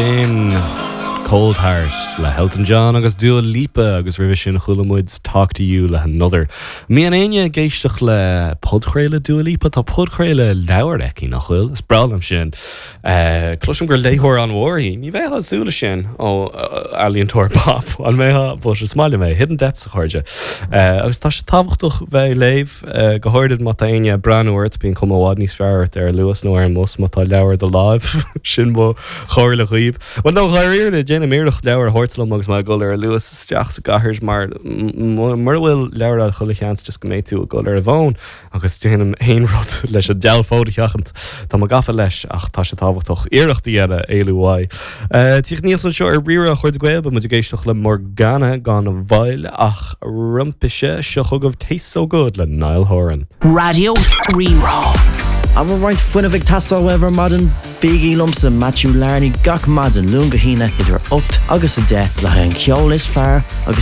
Sin Cold Heart le hElton John agus Dua Lipa agus roimhe sin chuala muid Talk to You le hAnother. Mbíonn éinne ag éisteacht le podchraoladh Dua Lipa? Tá podchraoladh leabhar aici, nach bhfuil? Is breá liom sin. Cloisim gur léitheoir an-mhór í. Ní bheifeá ag súil leis sin ó ealaíontóir pop, an mbeifeá? But is maith liom é. Hidden Depths, a chairde. Agus tá sé tábhachtach bheith ag léamh. Go háirid má tá éinne ag breathnú ort, bíonn cuma i bhfad níos fearr ort ar an Luas nó ar an mbus má tá leabhar i do láimh. Sin mo chomhairle dhaoibh. Bhuel, no, dháiríre, déanaim iarracht leabhar a thabhairt liom agus mé ag dul ar an Luas isteach sa gcathair mar mura bhfuil leabhar agat chuile sheans just go mbeidh tú ag dul ar an bhfón agus déanaim aon rud leis an diabhal fón a sheachaint. Tá mé gafa leis ach tá sé tábhachtach iarracht a dhéanamh éalú uaidh. Tíocht aníos anseo ar Rí-Rá a chairde Gael, beidh muid ag éisteacht le Morgana gan mhoill ach roimpi seo chugaibh Tastes So Good le Niall Horan. Raidió Rí-Rá. An bhfuil roinnt fuinnimh ag teastáil uaibh ar maidin? Bígí liomsa, Matthew Larney, gach maidin, Luan go hAoine, idir 8 agus 10, le haghaidh an cheoil is fearr agus.